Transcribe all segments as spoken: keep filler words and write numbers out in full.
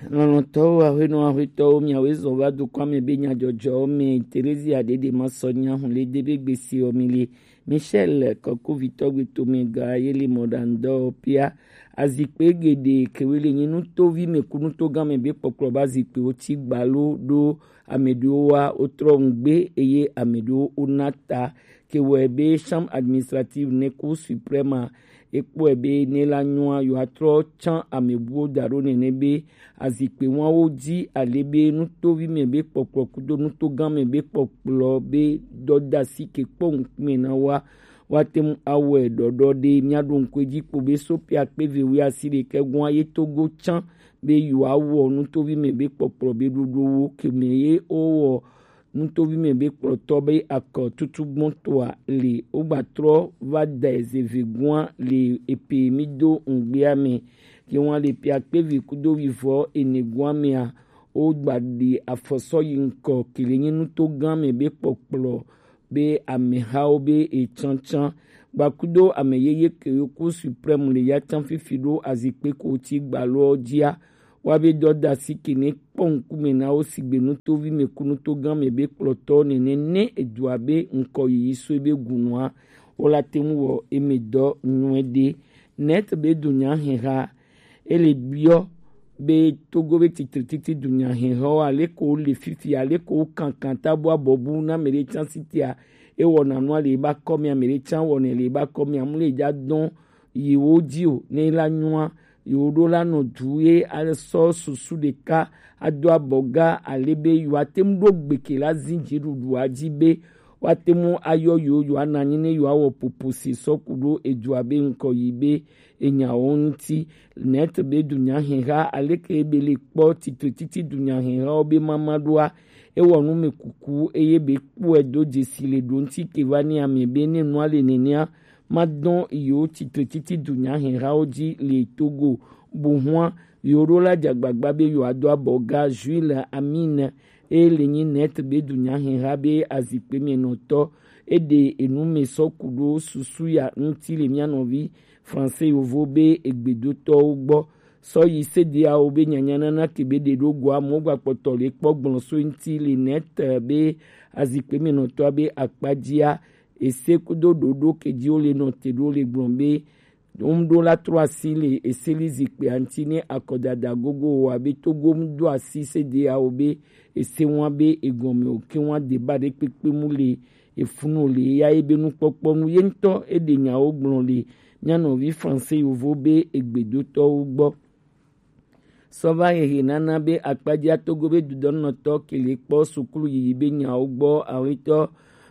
Lɔlɔ̃tɔwo, ahwenɔ ahwetɔwo, miawoe zɔ va dukɔa me be nyadzɔdzɔwo me. Terezia ɖeɖe ma sɔ nya hun le de be gbesi ɔ mi le. Michel kɔkuvitɔ gbetome ga ye le mɔɖaŋdɔ pia. Azikpe geɖe kewe le nyi nutovi me ku nutogã me be kpɔkplɔ ba zikpewo ti gbalo ɖo ame ɖewo wa wotrɔ ŋgbe eye ame ɖewo wona ta. Ke wɔe be Chambre administrative ne Cour suprême a, ekpɔe be ne la nyɔa, yewoatrɔ tsã amebuwo da ɖo nene be azikpe wawo dzi ale be nutovi me be kpɔkplɔ kudo nutogã me be kpɔkplɔ be dɔdasi ke kpɔ ŋkume na wa, woate ŋu awɔe ɖɔɖɔ ɖe. Míaɖo ŋku edzi kpo be Sopia kpe ve wuiasiɖekɛ gɔ̃a ye Togo tsã be yewoawɔ nutovi me be kpɔkplɔ be ɖoɖowo ke me ye wowɔ nutovi me be kplɔtɔ be akɔ tutu gbɔntɔa le wogbatrɔ va dae zeve gua le epe mi do ŋgbea me. Ke wan le pia kpevi kudo wivɔ ene gua mea, wogba ɖi afɔsɔ yi ŋkɔ ke le nyi nutogã me be kpɔkplɔ be amehawo be etsantsan gbakudo ame yeye ke Cour suprême le ya tsã fifi ɖo azikpe ko ti gbalɔ dzia. Wa be dɔdasi ke ne kpɔ ŋkume na wo sigbe nutovi me ku nutogã me be kplɔtɔ nene ne edua be ŋkɔ yiyi so ebe gunua, wo la te ŋu wɔ eme dɔ nyuie ɖe. Net be dunya heha ele biɔ be Togo be titre titi dunya heha wo ale ko le fifi ale ko kankan tabu abɔbu na me ɖe tsan sitia ewɔ na nua le ba kɔ mi ame ɖe tsan wɔ ne le ba kɔ mi amu le ja dɔn yi wo dzi o ne la nyua yi wo ɖo la nɔ du ye asɔ susu ɖeka ado abɔ ga ale be yi wa te ŋu ɖo gbeke la zi dziɖuɖua dzi be woate ŋu ayɔ yewo yewoanɔ anyi ne yewoawɔ popo si sɔ ku ɖo edua be ŋkɔ yi be enyawo ŋuti. Net be dunya heha aleke be le kpɔ titre titi dunya hehawo be mama ɖoa, ewɔ nu me kuku eye be kpɔe do dzesi le ɖo ŋuti ke va ne ame be ne nua le nenea, madɔn yewo titre titi dunya hehawo dzi le Togo. Buhua yewo ɖo la dzagbagba be yewoado abɔ ga Jules Amine eye le nyi net be dunya heha be azikpe me nɔtɔ eɖe enu me sɔ ku ɖo susu ya ŋuti le mía nɔvi français yovo be egbedotɔwo gbɔ. Sɔ yi sedeawo be nyanyanana ke be ɖe ɖo goa mo gba kpɔtɔ le kpɔ gblɔ so ŋuti le net be azikpe me nɔtɔa be akpadzia ese kudo ɖoɖo ke dzi wo le nɔ te ɖo le gblɔ be ŋɖo la trɔ asi le eseli zikpea ŋuti ne akɔdada gogo wɔ abe Togo ŋdo asi sedeawo be ese ŋua be egɔme o ke ŋua deba ɖe kpekpe mu le efunu le ya ye be nukpɔkpɔ nu ye ŋutɔ eɖe nyawo gblɔ le mía nɔvi français yovo be egbedotɔwo gbɔ. Sɔ va hehe nana be akpadzia Togo be dudɔnɔtɔ ke le kpɔ sukulu yiyi be nyawo gbɔ awetɔ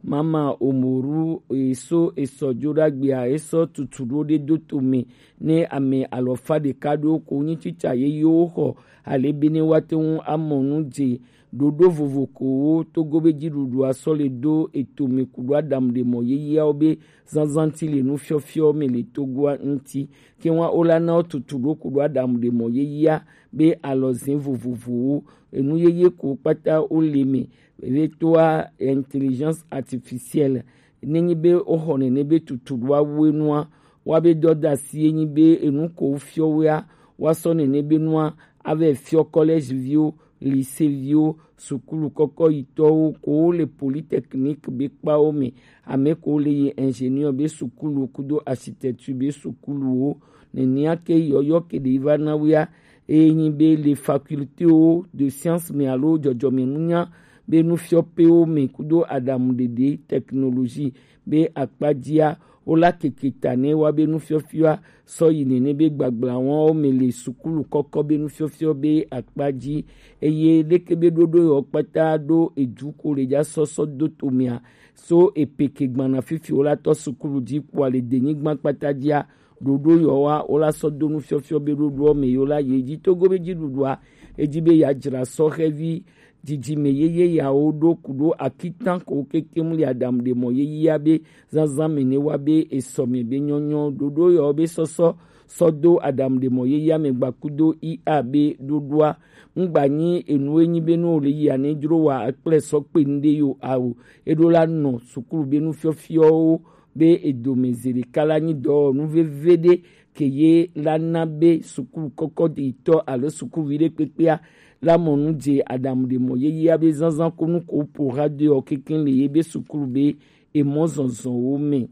Mama Omoru eso esɔ dzo ɖo agbea esɔ tutu ɖo ɖe do tome ne ame alɔfa ɖeka ɖo ko nyi tsitsa yeyewo xɔ ale be ne woate ŋu amɔ nu dze ɖoɖo vovo kowo Togo be dziɖuɖua sɔ le do etome ku ɖo aɖaŋu ɖe mɔ yeyeawo be zazã ŋuti le nufiɔfiɔ me le Togoa ŋuti. Ke ŋua wo la na wo tutu ɖo ku ɖo aɖaŋu ɖe mɔ yeyea be alɔze vovovowo enu yeye ko kpata wo le me. Be toa intelligence artificielle ne nyi be wo xɔ nene be tutu ɖo awu enua wa be dɔdasi enyi be enu ko fiɔ wea wa sɔ nene be nua ave fiɔ collège viwo, lycée viwo, sukulu kɔkɔ yitɔwo ko wo le polytechnique be kpawo me, ame ko le yi ingénieur be sukulu kudo architecture be sukuluwo. Nenea ke yɔyɔ ke ɖe va na wea eye nyi be le facultéwo de science me alo dzɔdzɔmenunya be nufiɔƒewo me kudo aɖaŋuɖeɖe technologie be akpadzia wo la keke ta ne wa be nufiɔfiɔa sɔ yi nene be gbagblawawo me le sukulu kɔkɔ be nufiɔfiɔ be akpa dzi eye leke be ɖoɖo yawo kpata ɖo edu ko le dza sɔsɔ do tomea so epeke gbana fifi wo la tɔ sukulu dzi kpoa le denyigba kpata dzia ɖoɖo yawoa wo la sɔ do nufiɔfiɔ be ɖoɖoɔ me yewo la ye dzi Togo be dziɖuɖua edzi be yeadzra sɔhɛvi dzidzime yeye yawo ɖo ku ɖo akitan ko kekem le aɖaŋu ɖe mɔ yeyea be zazã me ne wa be esɔ me be nyɔnyɔ ɖoɖo yawo be sɔsɔ sɔ do aɖaŋu ɖe mɔ yeyea me gbakudo ia be ɖoɖoa ŋgba nyi enu enyi be ne wole yia ne dzro wa akple sɔ kpe nu ɖe yo ao eɖo la nɔ sukulu be nufiɔfiɔwo be edome zi ɖeka la nyi dɔwɔnu veve ɖe ke ye la na be sukulu kɔkɔ ɖetɔ alo sukuvi ɖe kpekpea la mɔ nu je adamu ɖe mɔ yeyea be zanzan ko nu ko po radio ɔ keke le ye be sukulu be emɔ zɔnzɔnwo me.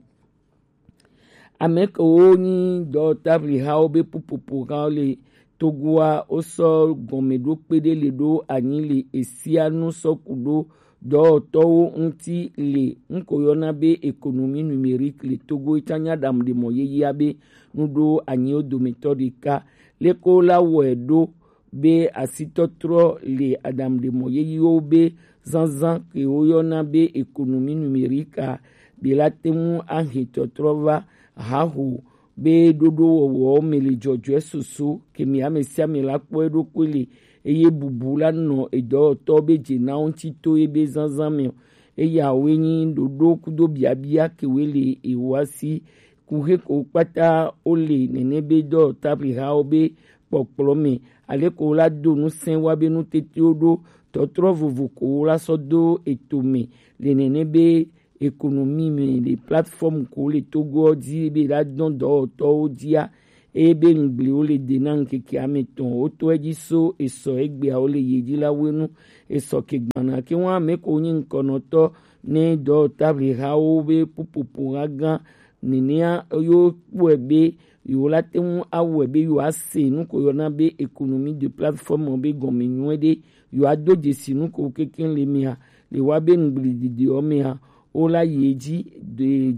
Ame kewo nyi dɔwɔtablihawo be pupopo hã le Togoa, wosɔ gɔmeɖokpe ɖe le ɖo anyi le esia nu sɔ ku ɖo dɔwɔtɔwo ŋuti le nuko yɔna be économie numérique le Togo, etsã nya ɖamu ɖe mɔ yeyea be nuɖo anyiwo dometɔ ɖeka. Leke wola wɔe ɖo be asitɔtrɔ le aɖaŋuɖemɔ yeyiwo be zazã ke woyɔna be économie numérique a, be la te ŋu ahe tɔtrɔ va haho be ɖoɖowɔwɔwo me le dzɔdzɔe susu ke mi ame sia ame la kpɔ eɖokui le, eye bubu la nɔ edɔwɔtɔ be dze na wo ŋuti to ebe zazã me o. Eyawoe nyi ɖoɖo kudo biabia ke woe le ewa si. Kuxe ko kpata wole nene be dɔwɔtablihawo be kpɔkplɔ me, ale ko wola do ŋusẽ wa be nutetewo ɖo tɔtrɔ vovo ko wola sɔ do eto me le nene be économie me le plateforme ko le Togo dzi be la dɔn dɔwɔtɔwo dzia, eye be ŋgbliwo le de na ŋkeke ame tɔn wotɔ edzi so esɔ egbeawo le ye dzi la wenu. Esɔ ke gbana ke wa ame ko nyi ŋkɔnɔtɔ ne dɔwɔtablihawo be pupopo ha gã nenea yo kpɔe be yewo la te ŋu awɔe be yewo ase nu ko yɔna be économie de plateforme be gɔme nyuie ɖe, yewo ado dzesi nu ko kekeŋ le mea, le wa be ŋgbli didi ɔ mea, wo la yi edzi de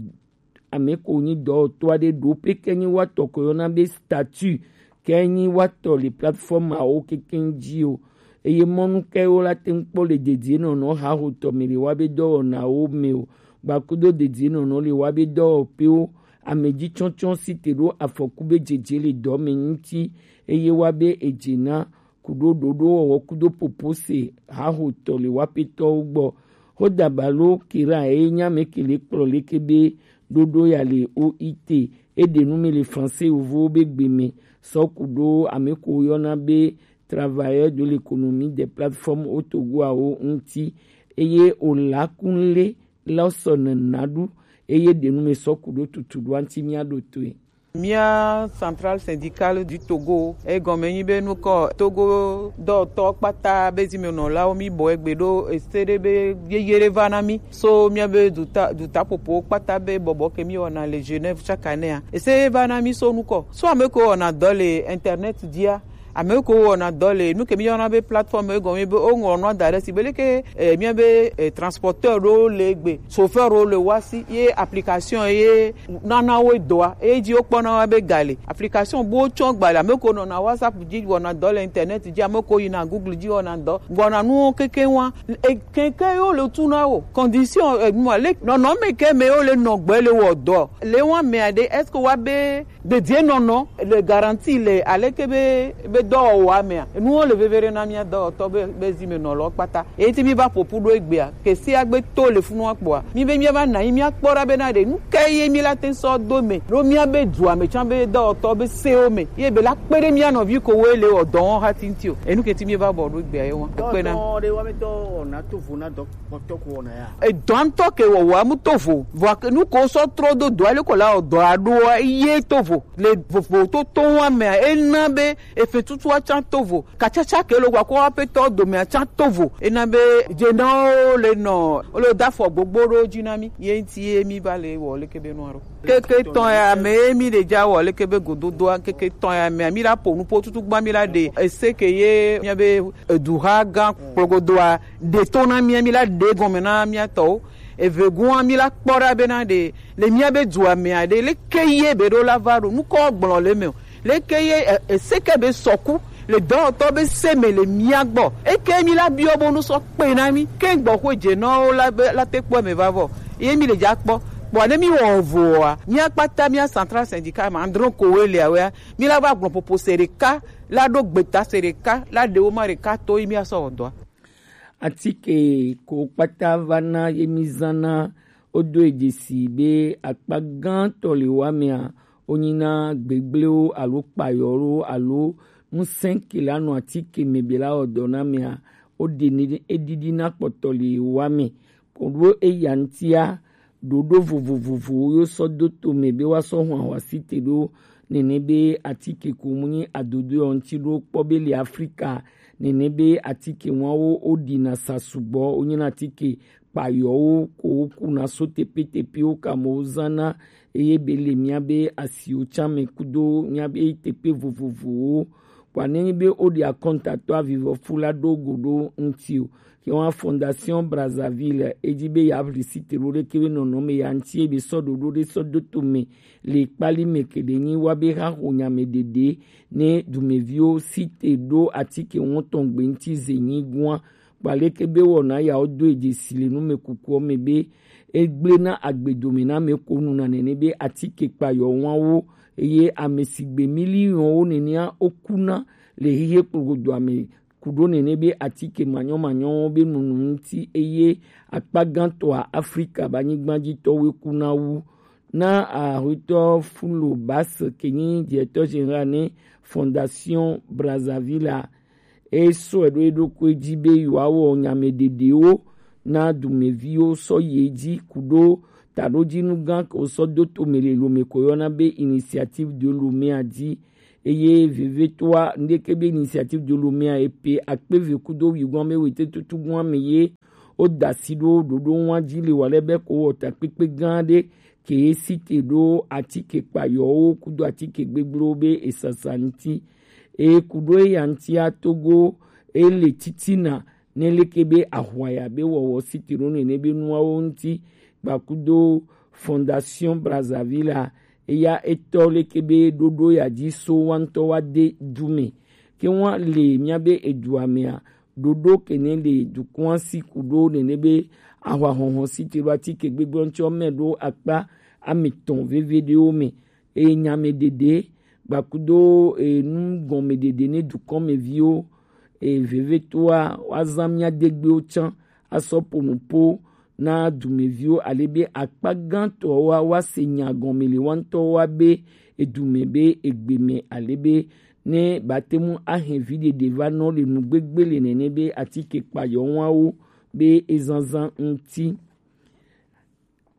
ame ko nyi dɔwɔtɔ aɖe ɖo pe ke nyi watɔ ko yɔna be statut ke nyi watɔ le plateforme awo kekeŋ dzi o. Eye mɔnu ke wo la te ŋu kpɔ le dedienɔnɔ hahotɔ me le wa be dɔwɔnawo me o. Gbakudo dedienɔnɔ le wa be dɔwɔƒewo, ame dzi tsɔtsɔ si te ɖo afɔku be dzedze le dɔ me ŋuti, eye wa be edze na kuɖo ɖoɖowɔwɔ kudo popose hahotɔ le wa petɔwo gbɔ. Hodabalo kira eye nya me ke le kplɔ leke be ɖoɖo ya le O I T, eɖe nu me le français yovowo be gbe me, sɔ kuɖo ame ko yɔna be travailleur de l'économie des plateformes au Togo awo ŋuti, eye o la kun le la sɔ nena ɖu, eye ɖe nu me sɔ kuɖo tutu ɖo anti mia ɖo toe. Mía Centrale Syndicale du Togo, egɔme nyi be nukɔ Togo dɔwɔtɔ kpata be zimenɔlawo mi bɔ egbe ɖo ese ɖe be yeye ɖe va na mi so mía be duta dutaƒoƒowo kpata be bɔbɔ ke mi wɔna le Genève chaque année a. Ese va na mi so nukɔ so ame ko wɔna dɔ le internet dzia, ame ko wɔna dɔ le nu ke mi yɔna be plateforme egɔme be woŋlɔ nua da ɖe si be leke eh, mía be eh, transporteur ɖewo le egbe, chauffeur ɖewo le wa si ye application ye nana wo dɔa eye dzi wokpɔna wa be ga le. Application bo tsɔ gbalẽ, ame ko nɔna WhatsApp dzi wɔna dɔ le internet dzi, ame ko yina Google dzi wɔna dɔ wɔna nuwo keke wa. Keke yo le tu na wo condition enua le nɔnɔme ke me yo le nɔgbe le wɔ dɔ le wa mea ɖe est-ce que wa be dedienɔnɔ le garantie le aleke be be dɔwɔwɔa mea enuwo le veve ɖe na mía dɔwɔtɔ be be zimenɔlawo kpata. Eye ti mi va ƒoƒu ɖo egbea, ke sia gbe to le funu akpɔa, mi be mía va na anyi mía kpɔ ɖa bena ɖe nu ka ye mi la te sɔ do me ɖo mía be dua me tsã be dɔwɔtɔ be sewo me ye be la kpe ɖe mía nɔvi ko wo le wɔ dɔ wɔn hati ŋuti o. Enu ke ti mi va bɔ ɖo egbea ye wɔn. Ekpe na. Dɔwɔtɔ ɖe wɔmitɔ wɔna to vo na dɔ kpɔtɔ ko wɔna ya. Edɔ ŋutɔ ke wɔwɔa mu to vo. Vɔa ke nu ko sɔ trɔ do dɔa le ko la wɔ dɔa ɖoa ye to vo. Le vovo to to wa mea, ena be efe tutua tsã to vo. Katsatsa ke lo wa ko aƒetɔ domea tsã to vo. Ena be dzenawo le nɔ, wo le da afɔ gbogbo ɖo dzi na mi. Ye ŋuti ye mi va le wɔ leke be nua ɖo. Keke tɔn ya me ye mi le dza wɔ leke be gododoa, keke tɔn ya mea, mi la ƒo nu ƒo tutu gba mi la ɖe. Ese ke ye mía be eduha gã kplɔgodoa ɖe to na mía, mi la ɖe gɔme na mía tɔwo. Evegoa mi la kpɔ ɖa bena ɖe le mía be dua mea ɖe leke ye be ɖo la va ɖo nukɔ gblɔ le me o. Leke ye e, ese ke be sɔku le dɔwɔtɔ be se me le mía gbɔ. Eke mi la biɔ bonu sɔ kpe na mi. Ke gbɔ xo dze nɔ la be la te kpɔ me va vɔ. Ye mi le dza kpɔ. Kpɔ ne mi wɔ voa, mía kpata mía central syndicat ma andro ko we le awea. Mi la va gblɔ popo se ɖeka la ɖo gbeta se ɖeka la ɖewo ma ɖeka to yi mía sɔ wɔ dɔa. Atike ko kpata va na ye mi zã na wodo e dzesi be akpa gãtɔ le wa mea wonyina gbegblewo alo kpayɔwo alo ŋusẽ ke la nɔ atike me be la wɔ dɔ na mea woɖe ne eɖiɖi na kpɔtɔ le wa me. Ko ɖo eya ŋutia ɖoɖo vovovovowo yo sɔ do to me be woasɔ hɔn ahwasi te ɖo nene be atike ko mu nyi adodo ɔ ŋti ɖo kpɔ be le Afrika nene be atike ŋua wo o ɖi na sa sugbɔ o nyi na atike kpayɔwo ko wo ku na so tepetepe wo ka mo wo zan na eye be le mia be asiwo can me kudo mia be tepe vovovowo. Kpɔ ne nyi be o ɖi akɔntatɔ avivɔfu la ɖo go ɖo ŋti o. Ke wa Fondation Brazzaville e ji be ya ʋli site ɖo ɖe ke be nɔnɔme ya ŋti e be sɔ ɖoɖo ɖe sɔ do to me le kpali me ke ɖe nyi wa be ha ho nya me ɖeɖe ne dumeviwo site ɖo atike ŋutɔ gbe ŋti ze nyi gua. Kpɔ leke be wɔna yawo do eje si le numekukuɔ me be egblẽ na agbedome na ame ko nu na nene be atike kpayɔ wawo eye ame si gbe miliɔnwo nenea wokuna le xexe kplogodoa me ku ɖo nene be atike manyɔmanyɔwo be nunu ŋuti eye akpa gãtɔa Afrika be anyigbadzitɔwoe kuna wu. Na ahuitɔ Fulo Bas ke nyi directeur général ne Fondation Brazzaville a, e sɔe ɖo eɖokui ji be yewoawɔ nyame ɖeɖewo na dumeviwo sɔ yi edzi ku ɖo taɖodzinu gã ke wosɔ do to me le Lome ko yɔna be Initiative de Lome a ji. Eye vevitɔa, ŋɖeke be Initiative de Lome a e pe akpe ve kudo wigoame wete tutu goame ye wo da asi ɖo ɖoɖo ŋua ji le wa lɛ be ko wɔ takpekpe gã ɖe ke ye site ɖo atike kpayɔwo kudo atike gbegblẽwo be esasa ŋuti. Eye ku ɖo eya ŋutia Togo e le titina ne leke be ahwaya be wɔwɔ site ɖo nene be nuawo ŋuti gbakudo Fondation Brazzaville a, eya etɔ leke be ɖoɖo ya ji so wa ŋutɔ wa de du me. Ke wa le mia be edua mea, ɖoɖo ke ne le dukɔa si ku ɖo nene be ahwa hɔhɔ site ɖo atike gbegblẽ ŋutɔ me ɖo akpa ametɔn veve ɖewo me. Eye nyame ɖeɖe gbakudo enu gɔme ɖeɖe ne dukɔmeviwo eye vevitɔa woazã mia degbewo tsã asɔ ƒo nu ƒo na dumeviwo ale be akpa gãtɔwoa woase nya gɔme le wa ŋutɔwoa be edume be egbe me ale be ne bate ŋu ahe vi ɖeɖe va nɔ le nugbegbe le nene be atike kpayɔwawo be ezazã ŋuti.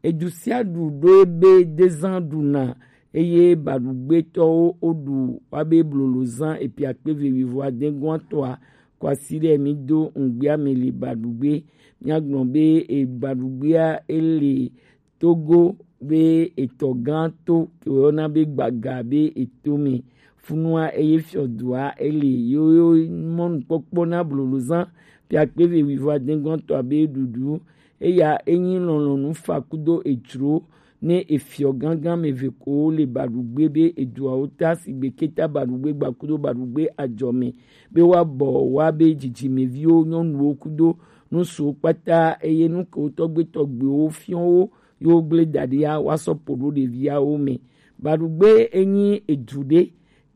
Edu sia ɖu ɖo ebe dezã ɖuna eye baɖugbetɔwo woɖu woabe blolozã epiakpeve wivo adegɔatɔa kwasi ɖe mi do ŋgbea me le baɖugbe. Míagblɔ be ebaɖugbea ele Togo be etɔ gã to ke woyɔna be Gbaga be eto me. Funua eye fiɔdua ele yo yo mɔnukpɔkpɔ na blolozã piakpeve wivo adegɔatɔa be ɖuɖu. Eya enyi lɔlɔ̃nu fa kudo ejro ne efiɔ gãgã me ve ko le baɖugbe be eduawo ta sigbe keta baɖugbe gbakudo baɖugbe ajɔ me be woabɔ woabe dzidzimeviwo nyɔnuwo kudo nusuwo kpata eye nu kewo tɔgbuitɔgbuiwo fiɔ wo yewo gblẽ da ɖia woasɔ ƒo ɖo ɖeviawo me. Baɖugbe enyi edu ɖe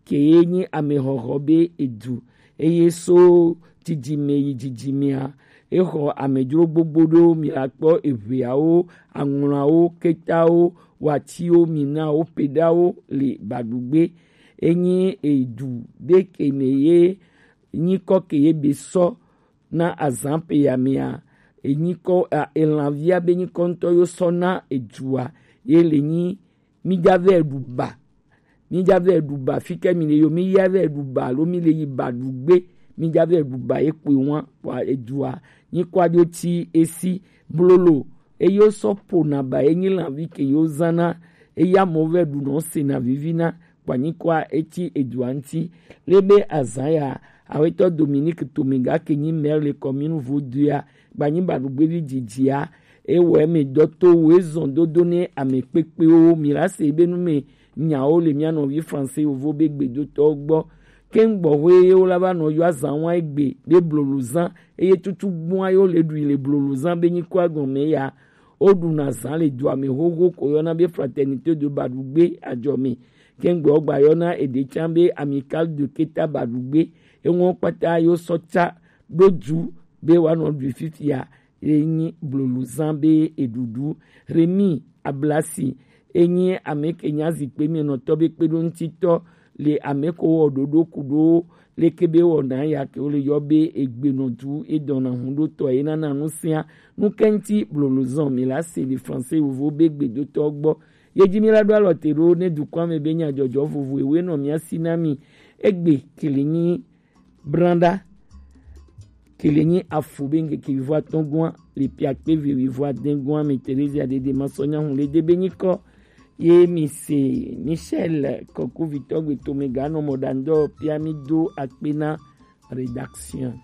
ke ye nyi amexɔxɔ be edu eye so dzidzime yi dzidzimea exɔ amedzro gbogbo ɖewo. Mi la kpɔ eʋeawo, aŋlɔawo, ketawo, watiwo, minawo, peɖawo le baɖugbe. Enyi edu ɖe ke me ye nyikɔ ke ye be sɔ na azã pe ya mea enyikɔ elanvia be nyikɔ ŋutɔ yo sɔ na edua ye le nyi mi ja vɛ ɖu ba. Mi ja vɛ ɖu ba fi ke mi le yo mi ya vɛ ɖu ba alo mi le yi baɖugbe. Mi ja vɛ ɖu ba ye kpoe wa wa edua nyikɔ aɖo ti esi blolo eye wosɔ ƒona ba ye nyi lanvi ke yo zã na eya mɔ vɛ ɖu nɔ sena vivi na kpanyikɔa eti edua ŋuti. Le be azã ya awetɔ Dominique Tomiga ke nyi maire le commune Vodua gbanyi baɖugbevi dzidzia ewɔ eme dɔ to wo ezɔn dodo ne ame kpekpewo mi la se be nu me nyawo le mia nɔvi français yovo be gbedotɔwo gbɔ. Keŋ gbɔxwe ye wo la va nɔ yɔ azã wa egbe be blolozã eye tutu gbɔa ye wo le ɖui le blolozã be nyikɔa gɔme ya. Woɖuna zã le dua me xoxo ko yɔna be Fraternité de Baɖugbe ajɔ me. Kɛŋgbɛ wogba yɔna eɖe tsã be Amicale de Keta Baɖugbe. Eŋɔ kpata yo sɔ tsa ɖo du be woanɔ ɖui fifia ye nyi blolozã be eɖuɖu. Remi Ablasi enyi ame ke nya zikpe me nɔtɔ be kpeɖoŋutitɔ le ame ko wɔ ɖoɖo ku ɖo leke be wɔna ya ke wo le yɔ be egbenɔdu edɔna huɖotɔ ye nana nu sia nu ke ŋuti blolozã mi la se le français yovo be gbedotɔ gbɔ. Ye ji mi la ɖo alɔ te ɖo ne dukɔa me be nyadzɔdzɔ vovo ewe nɔ mia si na mi. Egbe kele nyi branda, kele nyi afo be ŋkeke vivo atɔ̃ gɔa le piakpe ve vivo adẽ gɔa me Terezia Dede Masɔnya Hun le de be nyikɔ. Ye mi se Michel Kɔku vitɔ gbe to me ga nɔ mɔ ɖa ŋdɔ pia mi do akpe na rédaction.